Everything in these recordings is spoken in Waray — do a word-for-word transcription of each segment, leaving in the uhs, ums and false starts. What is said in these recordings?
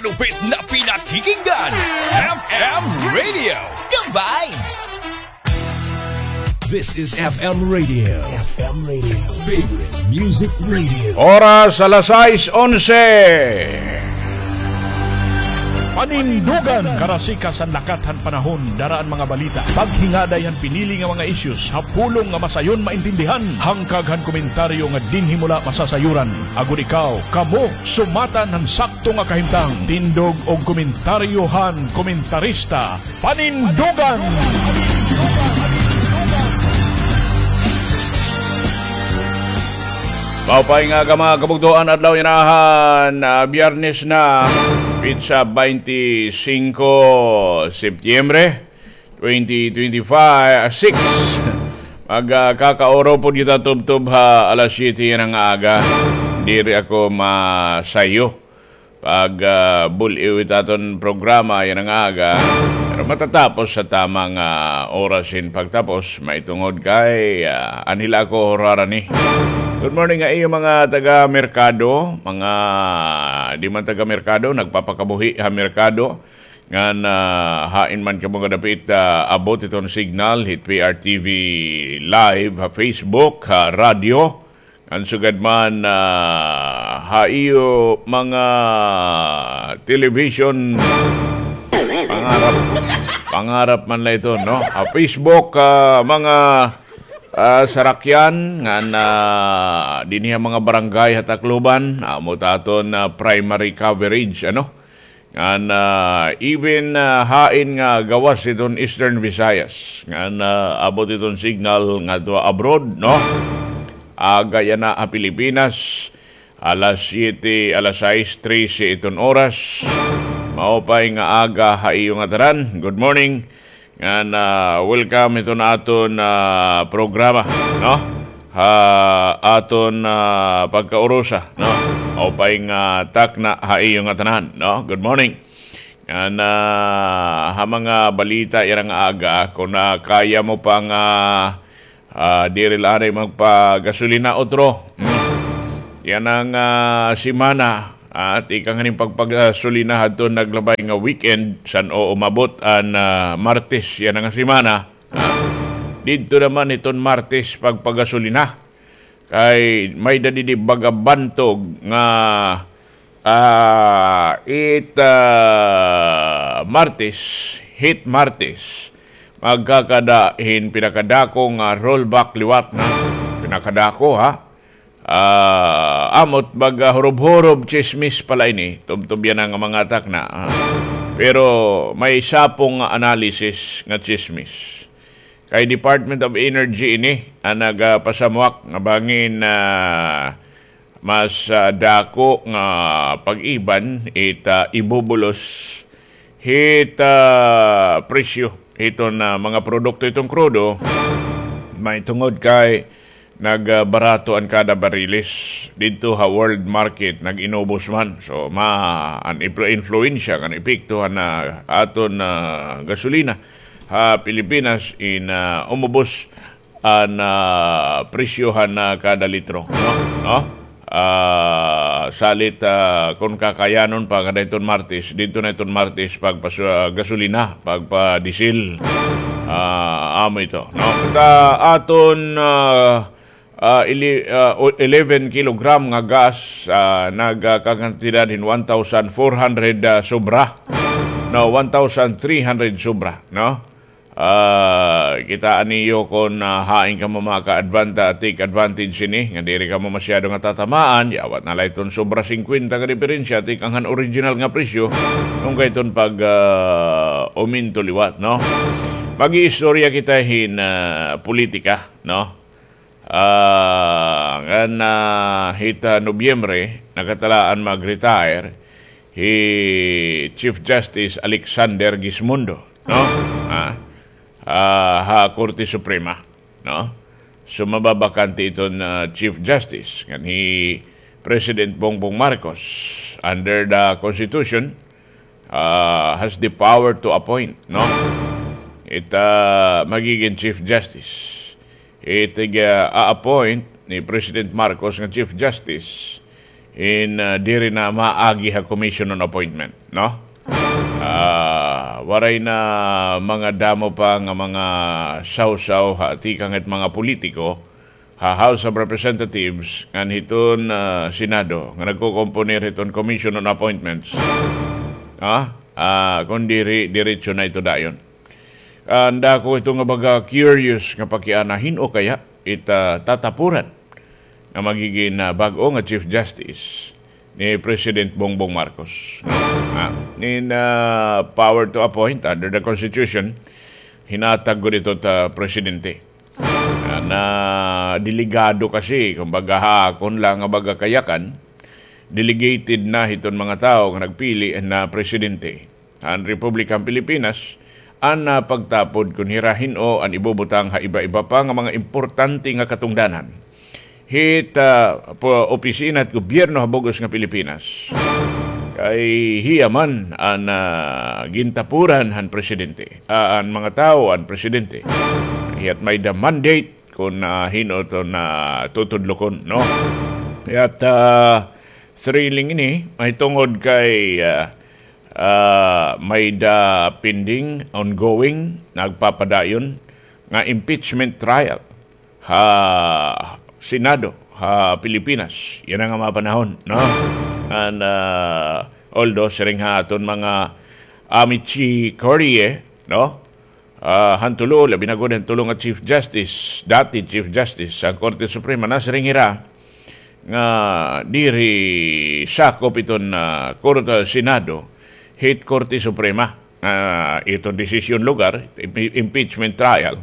Lupit na pinakikinggan, F M Radio, The Vibes. This is F M Radio. F M Radio. Favorite Music Radio. Oras alas sais onse. Panindugan. Karasika san lakat han panahon, dara an mga balita, paghingaday han pinili nga mga issues ha pulong nga masayon maintindihan, hangkag han komentaryo nga dinhi mo la masasayuran. Agod ikaw, kamo, sumatan han sakto nga kahimtang. Tindog og komentaryo han komentarista. Panindugan! Maupay nga aga, mga kabugtoan, adlaw yana han, ah, Biyernes na, petsa baynte singko Setyembre, twenty twenty-five, ah, six. Mag, ah, kakauro pod kita tubtob ha alas siyete yana nga aga. Diri ako masayo pag, ah, bul-iw it aton programa yana nga aga. Pero matatapos sa tama nga oras hin pagtapos, mahitungod kay, ah, anhi la ako hurara ini. Good morning ha iyo mga taga-merkado, mga di man taga-merkado, nagpapakabuhi ha merkado. Ngan, ah, hain man kamo kadapit, ah, abot iton signal hit P R T V Live ha Facebook, ha radyo. Ngan sugad man, ah, ha iyo mga television, pangarap, pangarap man la iton, no? Ha Facebook, ah, mga, ah, sarakyan, ngan, ah, dinhi ha mga barangay ha Tacloban, amo it aton, ah, primary coverage, ano? Ngan, ah, even, ah, hain nga gawas hiton Eastern Visayas. Ngan, ah, abot iton signal ngadto abroad, no? Aga yana ha Pilipinas, alas siyete, alas sais trese iton oras. Maupay nga aga ha iyo ngatanan. Good morning. Ngan, ah, welcome hiton aton, ah, programa, no? Ha aton, ah, pagkaurusa, no? Maupay nga takna ha iyo ngatanan, no? Good morning. Ngan, ah, ha mga balita yana nga aga, kon, ah, kaya mo pa nga, ah, diri la anay magpagasolina utro. Hmm. Yana nga, ah, semana, ah, tikang han pagpagasolina hadton naglabay nga weekend, san-o umabot an, ah, Martes yana nga semana. Ah, didto naman hiton Martes pagpagasolina. Kay may-ada didi baga bantog nga, ah, it, ah, Martes, hit Martes, magkakada hin pinakadako nga rollback liwat na. Pinakadako, ha? Ah, amo it baga hurob-hurob tsismis pa la ini. Tubtob yana nga mga takna, ha? Pero may sapong nga analysis nga tsismis. Kay Department of Energy ini an nagapasamuak nga bangin, ah, mas, ah, dako nga pag-iban it, ah, ibubulos hit, ah, presyo hiton, ah, mga produkto hiton krudo, mahitungod kay nagbarato an kada bariles didto ha world market, nag-inubos man. So, ma-, an influ-, influensya kan epekto han, ah, aton, ah, gasolina ha Pilipinas in, ah, umubos an, ah, presyo han, ah, kada litro, no? No? Ah, salit, ah, kon kakayanon pa ngada hiton Martes, didto na hiton Martes pagpasu-, ah, gasolina, pagpadiesel. Ah, amo ito, no? Ta aton, ah, ah, ili-, ah, o-, eleven kilogram nga gas, ah, nagkakantidad hin one thousand four hundred, ah, sobra. No, one thousand three hundred sobra, no? Ah, kitaa niyo kon, ah, hain kamo maka-advanta-, take advantage sini, nga diri kamo masyado nga tatamaan, yawat na la iton sobra singkwenta nga diperensya, tikang han original nga presyo, tungkay iton pag, ah, uminto liwat, no? Mag-iistorya kita hin, ah, politika, no? Ah, ngan, ah, hit, ah, Nobyembre, nakatalaan mag-retire hi Chief Justice Alexander Gismondo, no? Ah, ah, ha Korte Suprema, no? So, mababakante iton, ah, Chief Justice, ngan hi President Bongbong Marcos, under the Constitution, ah, has the power to appoint, no? It, ah, magigin Chief Justice. It, ah, a-appoint ni President Marcos nga Chief Justice, in, ah, diri na maagi ha Commission on Appointment, no? Ah, waray na mga damo pa nga mga sawsaw ha tikang it mga politiko ha House of Representatives ngan hiton, ah, Senado nga nagkokomponer hiton Commission on Appointments. Ah, ah, kun diri, diretso na ito dayon. Ah, an dako ito nga baga curious nga pakiana, hin-o kaya it, ah, tatapuran nga magigin, ah, bag-o nga Chief Justice ni President Bongbong Marcos. Ah, in, ah, power to appoint under the Constitution, hinatag gud ito ta presidente. Ah, na delegado kasi, kumbaga, ha akon la nga baga kayakan, delegated na hiton mga tawo nga nagpili na presidente han Republikang Pilipinas, an, ah, pagtapod kun hira hin-o an ibubutang ha iba-iba pa nga mga importante nga katungdanan hit, ah, po-, opisina hit gobyerno ha bug-os nga Pilipinas. Kay hiya man an, ah, gintapuran han presidente, ah, an mga tawo han presidente. Hiya't may-ada mandate kun, ah, hin-o iton tutudlokon, no? Hiya't, ah, thrilling ini, mahitungod kay, ah, ah, may-ada pending, ongoing, nagpapadayon nga impeachment trial ha Senado ha Pilipinas. Yana nga mga panahon, no? And, ah, although siring ha aton mga amici curiae, no? Ah, han tulo, labi na gud han tulo nga Chief Justice, dati Chief Justice han Korte Suprema, nasiring hira nga diri sakop iton, ah, Korte, Senado, hit Korte Suprema, ah, iton desisyon lugar, impe-, impeachment trial,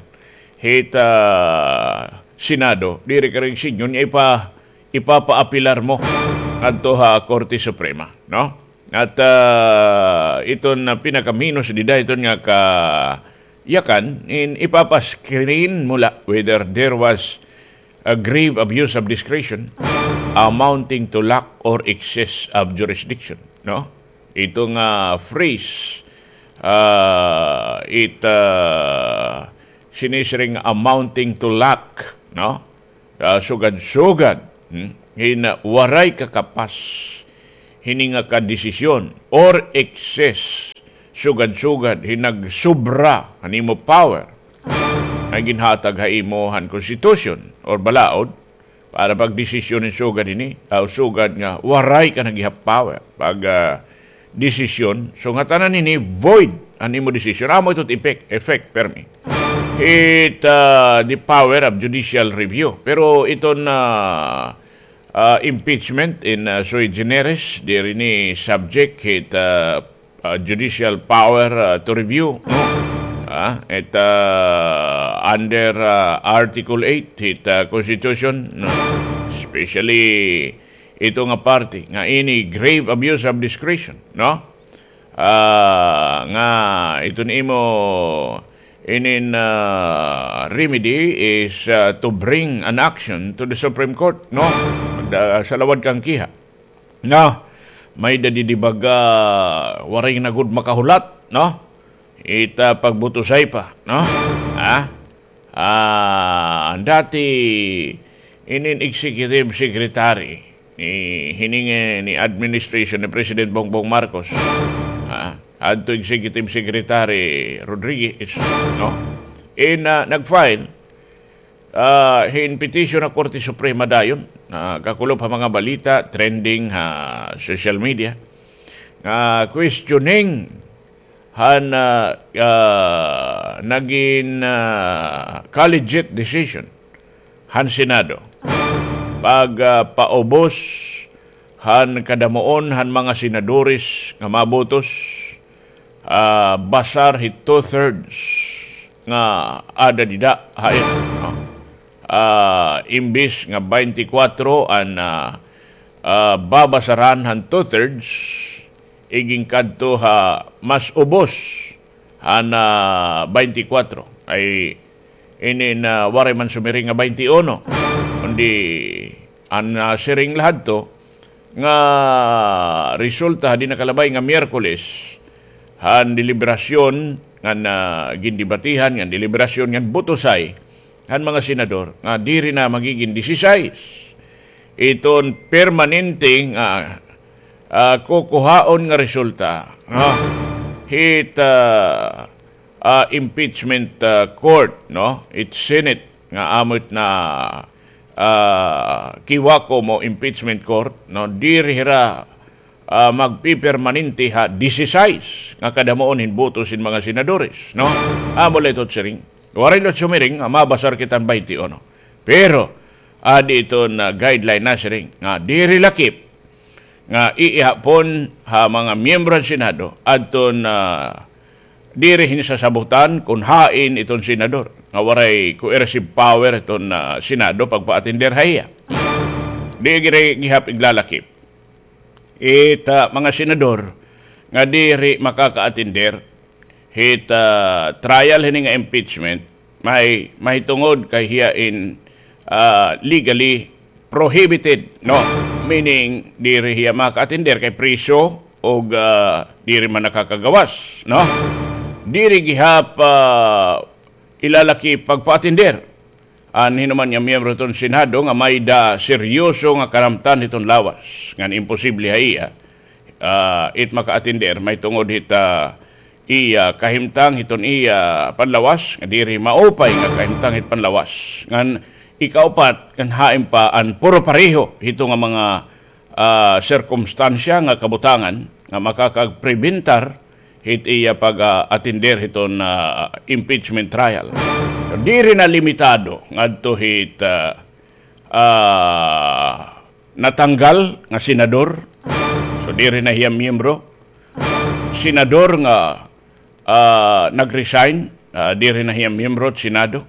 hit, ah, Senado, diri ka rin sinyon nga ipa-, ipapaapilar mo adto ha Korte Suprema, no? At, ah, iton, ah, pinakaminos dida iton nga kayakan, in ipapa-screen mo la whether there was a grave abuse of discretion amounting to lack or excess of jurisdiction, no? Ito nga phrase, ah, it, ah, sinisiring amounting to lack, no? Ah, sugad-sugad, hmm, hin waray kakapas hini nga kadesisyon or excess, sugad-sugad hin nagsobra han imo power nga ginhatag ha imo han konstitusyon or balaod para pagdesisyon hin sugad hini, ah, sugad nga waray ka na gihap power pag, ah, desisyon. So, ngatanan hini void an imo desisyon. Amo ito effect, effect permi. It, ah, the power of judicial review. Pero iton, ah, ah, impeachment in, ah, sui generis, diri ini subject hit, ah, ah, judicial power, ah, to review, no? Ah, it, ah, under, ah, Article eight hit, ah, Constitution, no? Especially ito nga parte nga ini grave abuse of discretion, no? Ah, nga iton imo inin, ah, remedy is, ah, to bring an action to the Supreme Court, no? Magda-, sa lawad kan kiha. No? May-ada didi baga waray na gud makahulat, no? Ita pagbutosay pa, no? Ha? Ah, an dati inin executive secretary ni, hining, eh, ni administration ni President Bongbong Marcos. Ah, adto executive secretary Rodriguez, no? In, ah, nag-file, ah, hin petition ha Korte Suprema dayon, ah, kakulop ha mga balita, trending ha social media, nga questioning han, ah, ah, nagin, ah, collegiate decision han Senado pag, ah, paubos han kadamuon han mga senadores nga mabutos, ah, basar hit two-thirds nga ada dida ha ira, no? Ah, imbis nga baynte kwatro an, ah, ah, babasaran han two-thirds, igin kadto ha mas ubos han, ah, baynte kwatro. Ay, inin, ah, waray man sumiring nga baynte uno. Kundi, an, ah, siring la hadto, nga resulta ha di nakalabay nga Miyerkules, han deliberasyon ngan, ah, gindebatihan, ngan deliberasyon, ngan butosay han mga senador, nga diri na magigin disisais iton permanente nga, ah, kukuhaon nga resulta, no? Hit, ah, ah, impeachment, ah, court, no? It Senate nga amo it na, ah, kiwako mo impeachment court, no? Diri hira, ah, magpipermanente ha disisais nga kadamuon hin boto sin mga senadores, no? Amo la ito siring. Waray la sumiring nga mabasar kita hin baynte uno. Pero, adi iton, ah, guideline na siring nga diri lakip nga iihapon ha mga miyembro han Senado adton, ah, diri hin sasabutan kon hain iton senador nga waray coercive power iton, ah, Senado pagpa-attender ha iya. Di giri gihap iglalakip it, ah, mga senador nga diri makaka-attender hit, ah, trial hini nga impeachment, may, mahitungod kay hiya in, ah, legally prohibited, no? Meaning, diri hiya maka-attender kay priso o, ah, diri man nakakagawas, no? Diri gihap, ah, ilalaki pagpa-attender an hinuman nga miyembro hiton Senado nga may-da seryoso nga karamtan hiton lawas ngan imposible ha iya, ah, it maka-attender mahitungod hit, ah, iya kahimtang hiton iya panlawas nga diri maupay nga kahimtang hit panlawas. Ngan ikaupat, ngan hain pa an puro pareho hito nga mga, ah, sirkumstansya nga kabutangan nga makakagprebentar hit iya pag, ah, attender hiton, ah, impeachment trial. So, diri na limitado ngadto hit, ah, ah, natanggal nga senador. So, diri na hiya miyembro. Senador nga, ah, nag-resign, ah, diri na hiya miyembro hit Senado.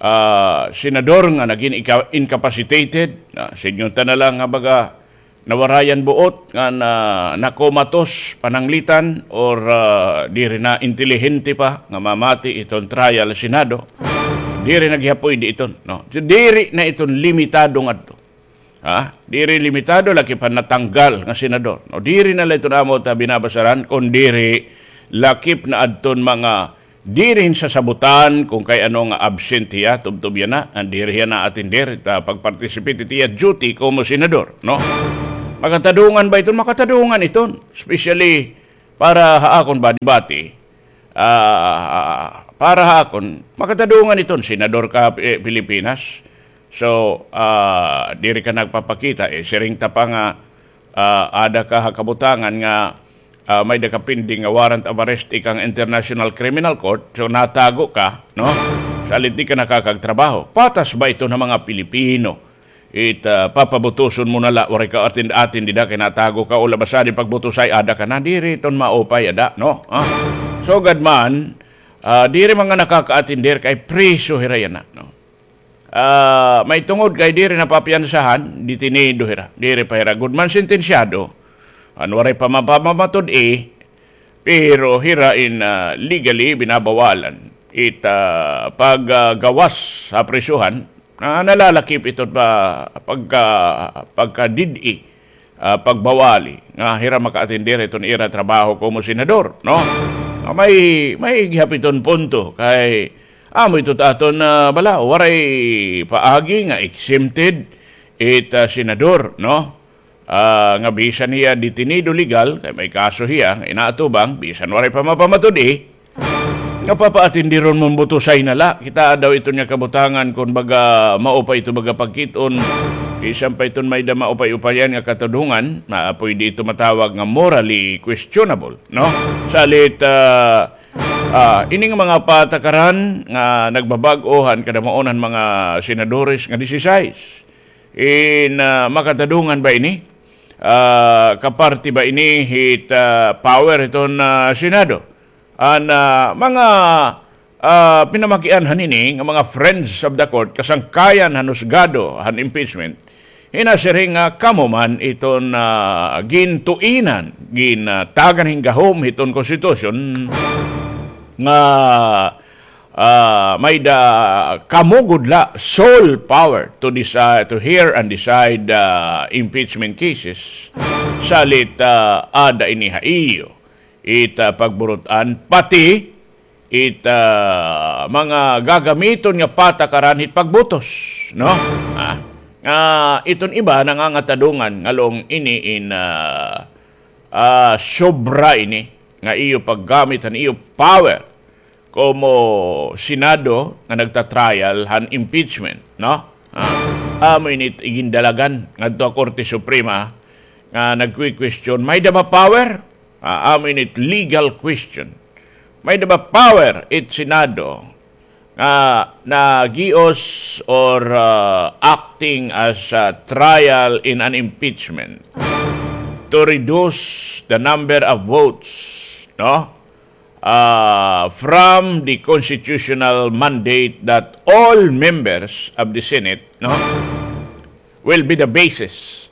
Ah, senador nga nagin ika-, incapacitated, ah, sidngon ta na la nga baga nawarayan buot, nga na, nakomatos, pananglitan, or, ah, diri na intelihente pa nga mamati iton trial ha Senado. Diri na gihap puyde iton, no? So, diri na iton limitado ngadto. Ha? Diri limitado lakip han natanggal nga senador. No, diri na la iton amo ta binabasaran, kon diri lakip na adton mga diri hin sasabutan kon kay ano nga absent hiya, tubtob yana, ngan diri hiya na-attender, ta pag-participate hit iya duty komo senador, no? Makatadungan ba iton? Makatadungan iton. Especially para ha akon ba, debate, ah, para ha akon, makatadungan iton, senador ka, eh, Pilipinas. So, ah, diri ka nagpapakita, eh, siring ta pa nga, ah, ada ka ha kabutangan nga, ah, may-da ka pending nga warrant of arrest ikan International Criminal Court, so natago ka, no? Salit di ka nakakagtrabaho. Patas ba iton ha mga Pilipino? It, ah, papabutuson mo na la, waray ka atin, atin dida kay natago ka, o labas sa di pagbutosay, ada ka na, diri iton maupay, ada, no? Ah. Sugad man, ah, diri man nga nakaka-attender kay priso hira yana, no? Ah, mahitungod kay diri na papiyansahan, detenido hira, diri pa hira gud man sentensyado. An waray pa mapamatud-i, pero hira in, ah, legally binabawalan it, ah, pag, ah, gawas ha prisuhan, ah, nalalakip ito pa pagka, pagkadid-i, ah, pagbawali nga hira maka-attender hiton ira trabaho komo senador, no? Ah, may, may gihap iton punto kay amo ito ta aton, ah, bala, waray paagi nga exempted it, ah, senador, no? Ah, nga bisan hiya detenido legal, kay may kaso hiya, nga inaatubang, bisan waray pa mapamatud-i, nga papaatindiron mo, butosay na la. Kita daw iton nga kabutangan kon baga maupay ito baga pagkit-on, bisan pa iton may-da maupay-upayan nga katadungan, na pwede ito matawag nga morally questionable, no? Salit, ah, ah, ini nga mga patakaran nga nagbabag-o han kadamuon han mga senadores nga disisais. In, ah, makatadungan ba ini? Ah, kaparti ba ini hit, ah, power hiton, ah, Senado? An, ah, mga, ah, pinamakian han ini nga mga friends of the court, kasangkayan han husgado han impeachment, hinasiring nga kamo man iton, ah, gintuinan, gintagan hin gahom hiton konstitusyon nga ah, may-da kamo gud la sole power to decide, to hear and decide, ah, impeachment cases. Salit, ah, ada ini ha iyo it, ah, pagburut-an, pati it, ah, mga gagamiton nga patakaran hit pagbutos, no? Ah, Nga iton iba nangangatadungan nga laong ini in, ah, ah, sobra ini nga iyo paggamit han iyo power komo Senado nga nagta-trial han impeachment, no? Ah, amo ini it igindalagan ngadto ha Korte Suprema nga nagkwi-question, may-da ba power? Ah, amo ini it legal question. May-da ba power it Senado nga nagios or, ah, acting as a trial in an impeachment to reduce the number of votes, no? Ah, from the constitutional mandate that all members of the Senate, no, will be the basis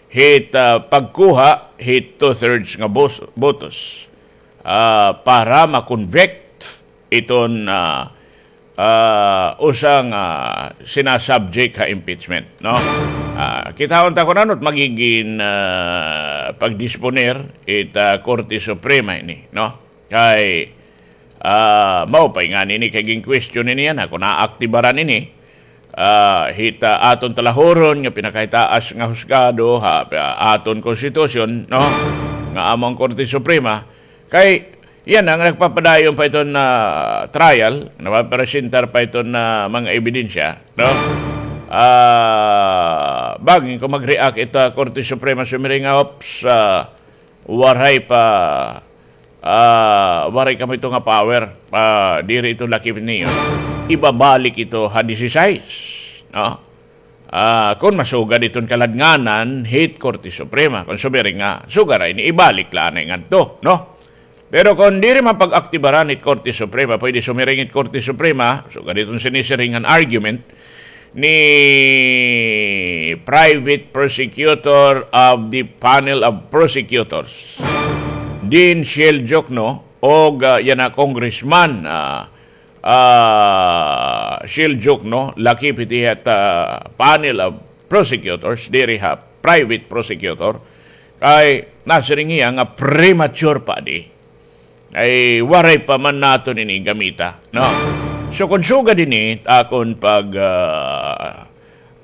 hit, ah, pagkuha hit two-thirds nga bos-, botos, ah, para ma-convict iton, ah, ah, usa nga sinasubject ha impeachment, no? Ah, kitaon ta kon ano it magigin, ah, pagdisponer it, ah, Korte Suprema ini, no? Kay, ah, maupay ngani ini kay gin-question ini yana kon aaktibaran ini, ah, hit, ah, aton talahuron nga pinakahitaas nga husgado ha, ha aton konstitusyon, no? Nga amo an Korte Suprema. Kay yana nga nagpapadayon pa iton, ah, trial, nagpapresentar pa iton, ah, mga ebidensya, no? Ah, bangin kon mag-react ito Korte Suprema, sumiring nga, "Oops, ah, waray pa, ah, waray kamo ito nga power, ah, diri ito lakip niyo." Ibabalik ito ha disisais, no? Ah, kon masugad iton kaladnganan hit Korte Suprema, kon sumiring nga sugad ra ini, ibalik la anay ngadto, no? Pero kon diri man pag-aktibaran hit Korte Suprema, pwede sumiring it Korte Suprema, sugad iton sinisiring nga argument ni Private Prosecutor of the Panel of Prosecutors, Dean Shell Jokno, og, ah, yana Congressman, ah, ah, Shell Jokno, lakip hit, ah, panel of prosecutors, diri ha private prosecutor, kay nasiring hiya nga premature pa di. Ay, waray pa man naton ini gamita, no? So, kon sugad ini, akon pag, ah,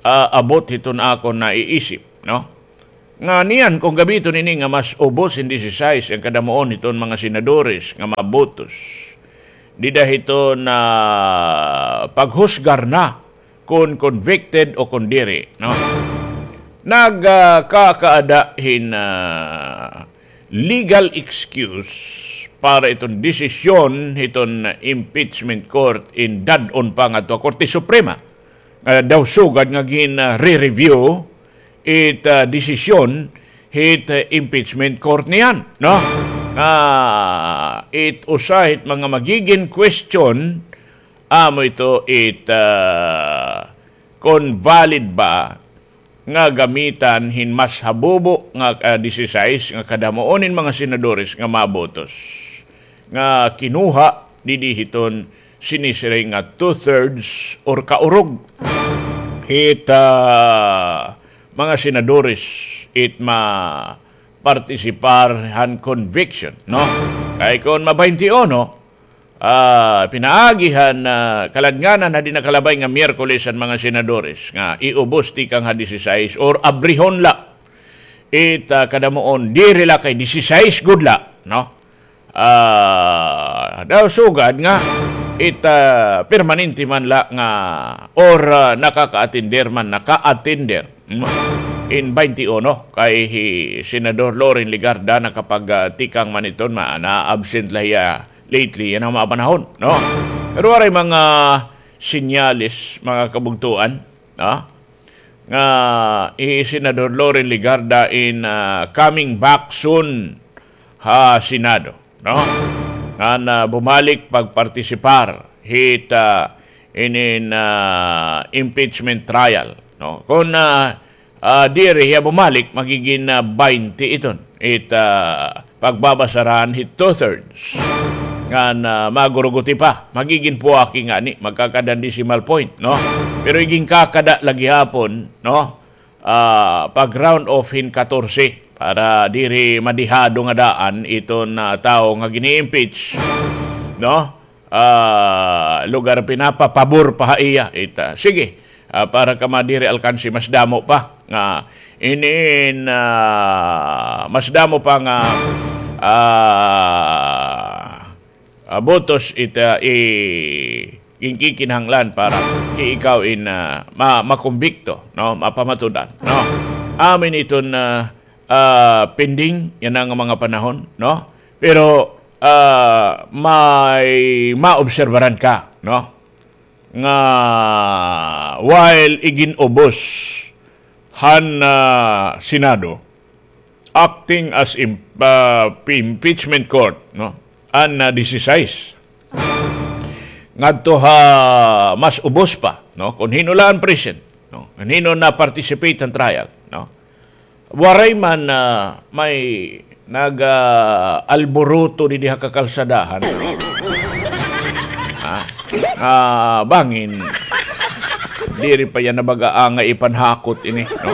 ah, abot hiton akon naiisip, no? Nga niyan kon gamiton ini nga mas ubos hin disisais an kadamuon hiton mga senadores nga mabotos dida hiton, ah, paghusgar na kon convicted o kon diri, no? Nagkakaada hin, ah, legal excuse para iton desisyon hiton impeachment court in dad-on pa ngadto ha Korte Suprema. Ah, daw sugad nga gin, ah, re-review it, ah, desisyon hit, ah, impeachment court niyan, no? Ah, it usa hit mga magigin question, amo ito it, ah, kon valid ba nga gamitan hin mas habubo nga, ah, disisais nga kadamuon hin mga senadores nga mabotos nga kinuha didi hiton sinisiring nga two-thirds or kaurog hit, ah, mga senadores it ma-partisipar han conviction, no? Kay kon ma-baynte uno, ah, pinaagi han, ah, kaladnganan ha di nakalabay nga Miyerkules an mga senadores nga iubos tikang ha disisais or abrihon la it, ah, kadamuon, diri la kay disisais gud la, no? Ah, daw sugad nga it, ah, permanente man la nga or, ah, nakaka-attender man, naka-attender, mm, in baynte uno kay hi Senador Loren Legarda nakapag, ah, tikang man iton, ma-, na-absent la hiya lately yana nga mga panahon, no? Pero waray mga senyales, mga kabugtoan, no? Nga hi Senador Loren Legarda in, ah, coming back soon ha Senado, no? Ngan, ah, bumalik pagpartisipar hit, ah, inin, ah, impeachment trial, no? Kon, ah, ah, diri hiya bumalik, magigin, ah, baynte iton it, ah, pagbabasaran hit two-thirds. Ngan, ah, maguruguti pa, magigin puwaki ngani, magkakada hin decimal point, no? Pero iginkakada la gihapon, no? Ah, pag-round off hin katorse para diri madihado nga daan iton, ah, tawo nga gini-impeach, no? Ah, lugar pinapapabor pa ha iya ita. Sige, Ah, para ka madiri alkansi mas damo pa nga inin, ah, mas damo pa nga, ah, ah, botos it, ah, i-, ginkikinahanglan para hi ikaw in, ah, ma-, makumbikto, no? Mapamatud-an, no? Amin iton, ah, ah, pending yana nga mga panahon, no? Pero, ah, may maobserbaran ka, no? Nga while igin-ubos han, ah, Senado, acting as im-, ah, impeachment court, no? An, ah, disisais. Ngadto ha mas ubos pa, no? Kon hin-o la an present, no? Kon hin-o na-participate han trial, no? Waray man, ah, may nag, ah, alboroto didi ha kakalsadahan. Ha? Ah, bangin. Diri pa yana baga angay ipanhakot ini, no?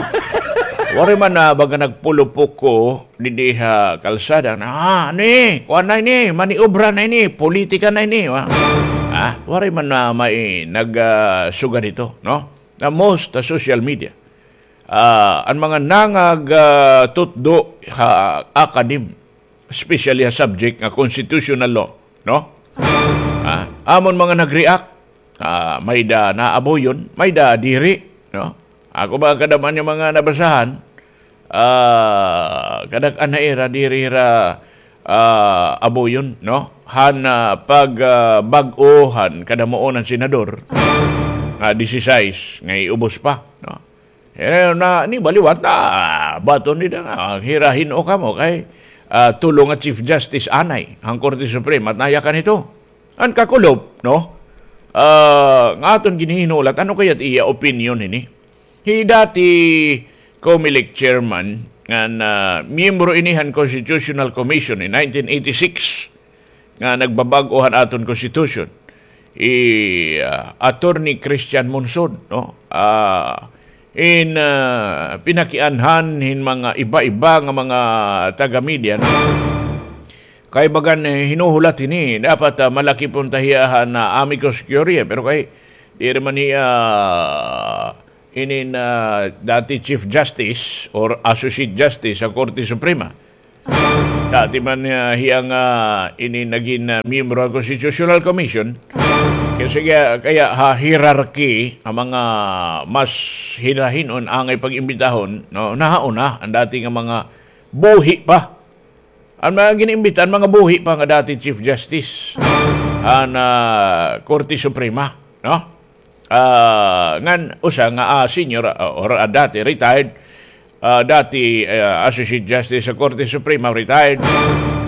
Waray man, ah, baga nagpulupuko didi ha kalsada. Ah, ni, kuan na ini, maniobra na ini, politika na ini, wa? Ah, waray man na may nag, ah, sugad hito, no? Na most, ah, social media. Ah, an mga nangag, ah, tutdo ha academe, especially ha subject nga constitutional law, no? Ah, amon mga nag-react, ah, may-ada naabuyon, may-ada diri, no? Ako ba, kadam-an nga mga nabasahan, ah, kadak-an ha ira diri hira, ah, abuyon, no? Han, ah, pag, ah, bag-o han kadamuon han senador nga disisais nga iubos pa, no? Eh, na, ni baliwat na, baton nida nga, hira hin-o kamo kay, ah, tulo nga Chief Justice anay han Korte Suprema, at nayakan ito. An kakulop, no? Ah, nga aton ginhihinulat, ano kaya it iya opinion ini? Hi dati Comelec chairman, nga na, miyembro ini han Constitutional Commission in nineteen eighty-six, nga nagbabag-o han aton constitution, hi, ah, Attorney Christian Monsod, no? Ah, in, ah, pinakianhan hin mga iba-iba nga mga taga-media, no? Kay bagan, eh, hinuhulat hini, dapat, ah, malaki pa unta hiya han, ah, amicus curiae, pero kay diri man hiya, ah, inin, ah, dati Chief Justice or Associate Justice sa Korte Suprema. Dati man, ah, hiya nga, ah, ini nagin, ah, miyembro han Constitutional Commission. Kay sige, kaya ha hierarchy, an mga mas hirahin-on angay pag-imbitahon, no, nahauna an dati nga mga buhi pa. An mga gin-imbita, an mga buhi pa nga dati Chief Justice han, ah, Korte Suprema, no? Ah, ngan usa nga, ah, senior, ah, or, ah, dati retired, ah, dati, ah, Associate Justice sa Korte Suprema, retired,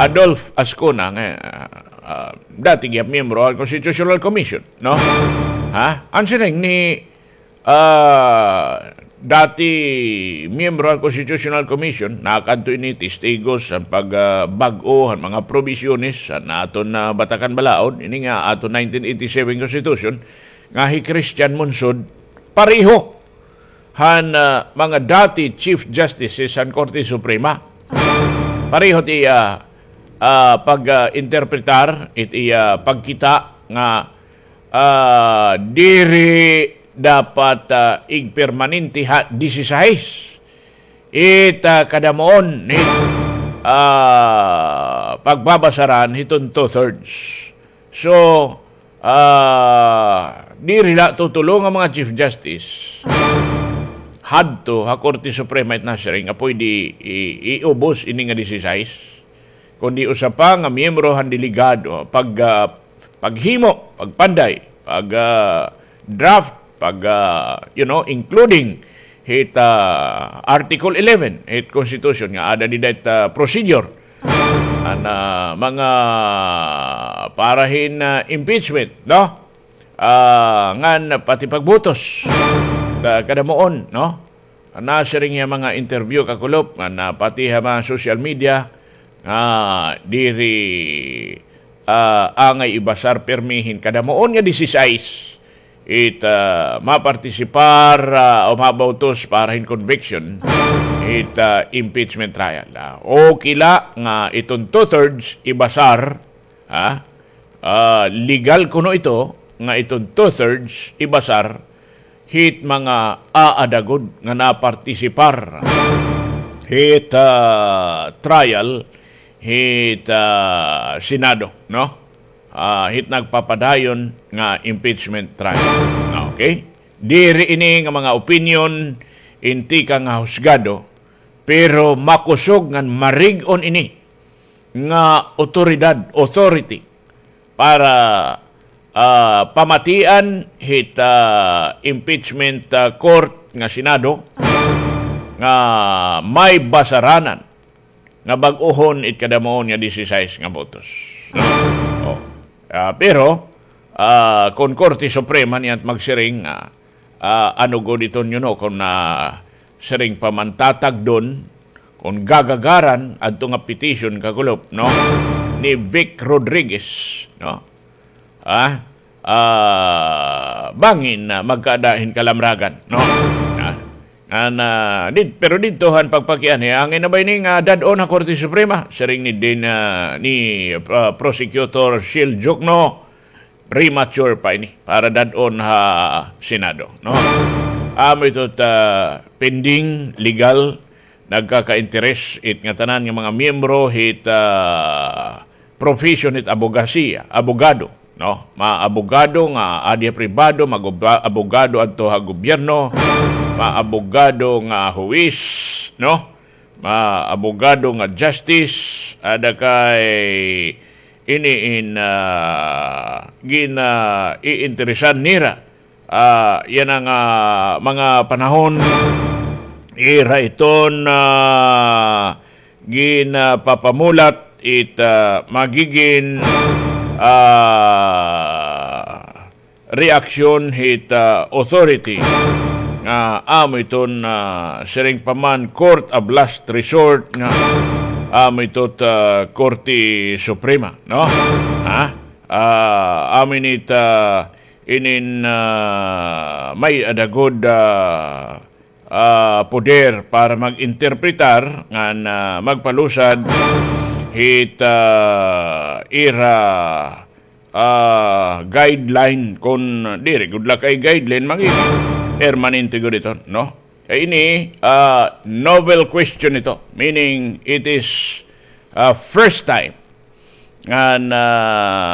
Adolf Azcuna, nga, ah, ah, dati gihap miyembro han Constitutional Commission, no? Ha? An siring ni, ah, dati miyembro han Constitutional Commission, nakadto ini testigos han pag, ah, bag-o han mga probisyones han aton, ah, Batakan Balaod, ini nga aton nineteen eighty-seven Constitution, nga hi Christian Monsod, pareho han, ah, mga dati Chief Justices han Korte Suprema. Pareho it iya, ah, pag, ah, interpretar, it iya pagkita nga, ah, diri dapat, ah, igpermanente ha disisais. It, ah, kadamuon, it, ah, pagbabasaran hiton two-thirds. So, ah, diri la tutulo nga mga Chief Justice hadto ha Korte Suprema it nasiring nga pwede i-, iubos ini nga disisais. Kundi usa pa nga miyembro han delegado, pag, ah, paghimo, pagpanday, pag, ah, draft, pag, ah, you know, including hit, ah, Article eleven hit Constitution nga aada dida it, ah, procedure. An, ah, mga para hin, ah, impeachment, no? Ah, ngan pati pagbutos. Da-, kadamuon, no? Nasiring hiya mga interview, kakulop, ngan, ah, pati ha mga social media, nga diri, ah, angay ibasar pirmi hin kadamuon nga disisais it, ah, mapartisipar, ah, o mabautos para hin conviction it, ah, impeachment trial. Ah, okay la nga iton two-thirds ibasar, ha? Ah, legal kuno ito nga iton two-thirds ibasar hit mga aada gud nga napartisipar hit, ah, trial hit, ah, Senado, no? Ah, hit nagpapadayon nga impeachment trial. Okay? Diri ini nga mga opinion in tikang nga husgado, pero makusog ngan marig-on ini nga otoridad, authority, para, ah, pamatian hit, ah, impeachment, ah, court nga Senado nga may basaranan nga bag-ohon it kadamuhon nga disisais nga botos. No? Oh. Ah, pero, ah, kon Korte Suprema niyan magsiring nga, ah, ano gud iton, you know, kon, ah, siring pa man tatagdon, kon gagagaran adto nga petition kakulop, no? Ni Vic Rodriguez, no? Ah, ah, bangin na magkaada hin kalamragan, no? Ah, ngan, ah, did-, pero didto han pagpakianhi, angay na ba ini nga dad-on ha Korte Suprema? Siring ni din, ah, ni, ah, Prosecutor Shil Jukno, premature pa ini para dad-on ha Senado, no? Amo ito ta pending legal, nagkaka-interes it ngatanan nga mga miyembro hit, ah, profession hit abogasiya, abogado, no? Mga abogado nga adi ha pribado, mga abogado adto ha gobyerno, mga abogado nga huwis, no? Mga abogado nga justice, ada kay ini in, ah, gina-iinteresan nira. Ah, yana nga mga panahon, ira iton, ah, ginapapamulat it, ah, magigin, ah, reaksyon hit, ah, authority nga amo iton, ah, siring pa man court of last resort nga amo ito ta Korte Suprema, no? Ha? Ah, amo ini ta inin, ah, may-ada gud, ah, ah, poder para mag-interpretar ngan, ah, magpalusad hit, ah, ira, ah, guideline, kon diri gud la kay guideline, magigin permanente gud ito, no? Kay ini, ah, novel question ito, meaning it is, ah, first time ngan, ah,